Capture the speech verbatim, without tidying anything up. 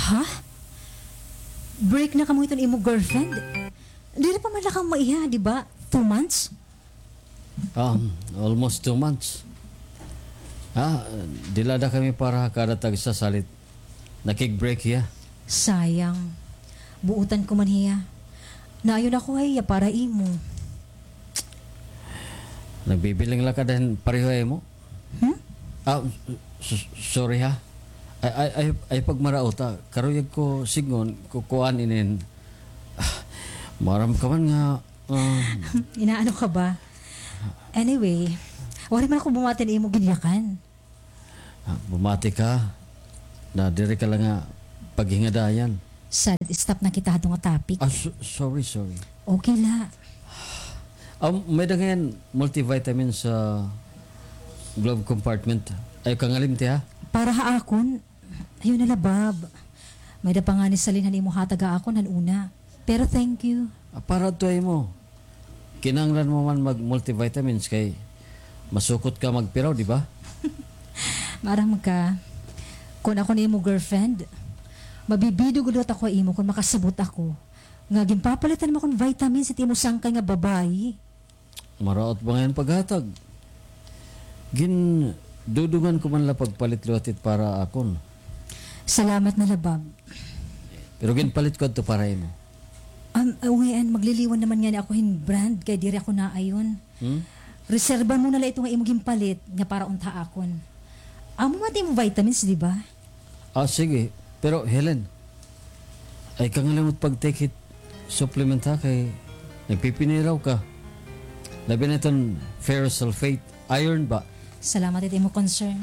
Ha? Break na kamo hiton imo girlfriend? Diri pa man la kamo maiha, di ba? Two months? Um, almost two months. Ah, dila da kami para kada tagsa salit nakig-break hiya. Sayang. Buotan ko man hiya. Naayon ako hiya para imo. Nagbibiling la ka dahin pareho ha imo? Hmm? Ah, s-, s-, sorry ha. Ay, ay, ay, ay pagmaraot ha. Karuyag ko sidngon, kukuan inin. Ah, maaram ka man nga, ah. Inaano ka ba? Anyway, waray man ako bumati na imo ginyakan. Ah, bumati ka na diri ka la nga paghingadayan. Salit, stop na kita hadto nga topic. Ah, so-, sorry, sorry. Okay la. Ah, may-ada ngay-an multivitamin sa glove compartment. Ayaw ka ngalimti, ha? Para ha akon, ayaw na la, Bob. May-ada pa ngani salin han imo hatag ha akon han una. Pero thank you. Ah, para adto ha imo. Kinahanglan mo man mag-multivitamins kay masukot ka magpiraw, di ba? Maaram ka, kon ako an imo girlfriend, mabibido gud liwat ako ha imo kon makasabot ako nga ginpapalitan mo akon vitamins it imo sangkay nga babaye. Maraot ba ngay-an paghatag? Gindudungan ko man la pagpalit liwat it para akon. Salamat na la, Bob. Pero ginpalit ko adto para imo. Um, uh, ngayon, magliliwan naman ngani ako hin brand kay diri ako naayon. Hmm? Reserba mo na la ito nga imo ginpalit nga para unta akon. Amo man it imo vitamins, di ba? Ah, sige. Pero, Helen, ay ka ngalimot pag-take it supplement, ha, kay nagpipiniraw ka. Labi na iton ferrous sulfate, iron ba? Salamat it imo concern.